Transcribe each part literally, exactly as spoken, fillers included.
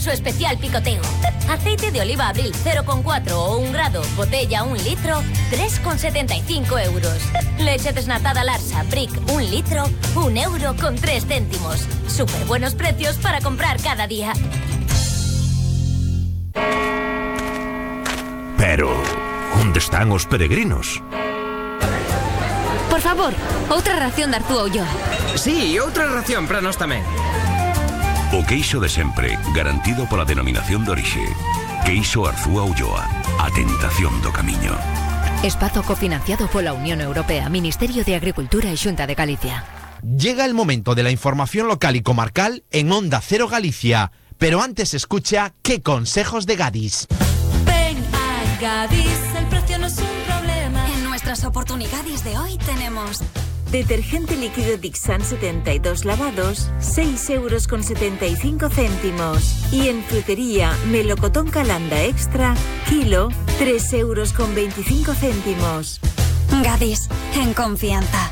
su especial picoteo. Aceite de oliva Abril cero coma cuatro o un grado, botella un litro, tres coma setenta y cinco euros. Leche desnatada Larsa, Brick, un litro, un euro con tres céntimos. Súper buenos precios para comprar cada día. Pero, onde están os peregrinos? Por favor, outra ración de Arzúa Ulloa. Sí, outra ración para nós tamén. O queixo de sempre, garantido pola denominación de orixe. Queixo Arzúa Ulloa, a tentación do camiño. Espazo cofinanciado pola Unión Europea, Ministerio de Agricultura e Xunta de Galicia. Llega el momento de la información local y comarcal en Onda Cero Galicia. Pero antes escucha ¿Qué consejos de Gadis? Ven a Gadis, el precio no es un problema. En nuestras oportunidades de hoy tenemos detergente líquido Dixan setenta y dos lavados, seis euros con setenta y cinco céntimos. Y en frutería, melocotón Calanda Extra, kilo, tres euros con veinticinco céntimos. Gadis, en confianza.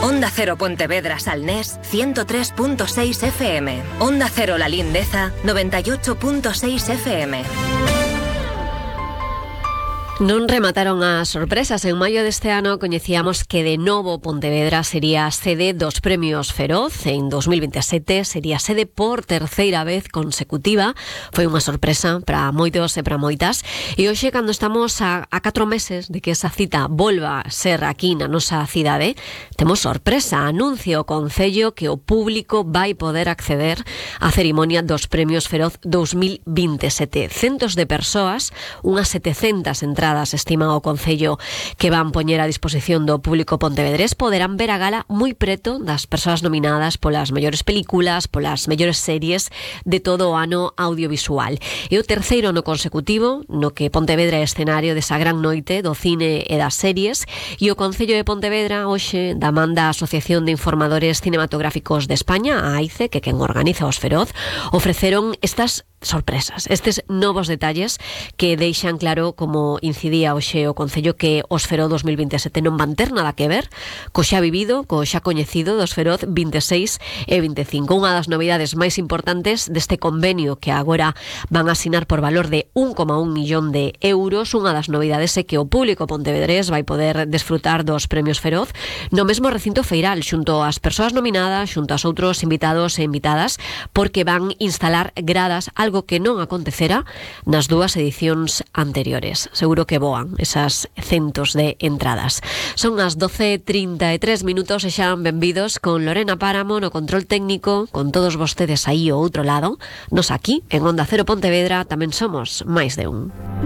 Onda Cero Pontevedra Salnés, ciento tres punto seis F M. Onda Cero La Lindeza, noventa y ocho punto seis F M. Non remataron as sorpresas. En maio deste ano coñecíamos que de novo Pontevedra sería sede dos Premios Feroz. En dos mil veintisiete sería sede por terceira vez consecutiva. Foi unha sorpresa para moitos e para moitas. E hoxe, cando estamos a, a catro meses de que esa cita volva a ser aquí na nosa cidade, temos sorpresa. Anuncio o Concello que o público vai poder acceder á cerimonia dos Premios Feroz dos mil veintisiete. Centos de persoas, unhas setecentas entradas estima o Concello que van poñer a disposición do público pontevedrés, poderán ver a gala moi preto das persoas nominadas polas mellores películas, polas mellores series de todo o ano audiovisual. E o terceiro ano consecutivo no que Pontevedra é escenario desa gran noite do cine e das series, e o Concello de Pontevedra hoxe da man da Asociación de Informadores Cinematográficos de España, a AICE, que quen organiza os Feroz, ofreceron estas sorpresas, estes novos detalles que deixan claro, como incidía hoxe o Concello, que os Feroz dos mil veintisiete non van ter nada que ver co xa vivido, co xa coñecido dos Feroz veintiséis e veinticinco. Unha das novidades máis importantes deste convenio que agora van a asinar por valor de un coma un millón de euros, unha das novidades é que o público pontevedrés vai poder desfrutar dos Premios Feroz no mesmo recinto feiral, xunto ás persoas nominadas, xunto aos outros invitados e invitadas, porque van instalar gradas, algo que non acontecera nas dúas edicións anteriores. Seguro que voan esas centos de entradas. Son as doce e trinta e tres minutos e xa benvidos con Lorena Páramo no control técnico, con todos vostedes aí ao outro lado. Nos aquí, en Onda Cero Pontevedra, tamén somos máis de un.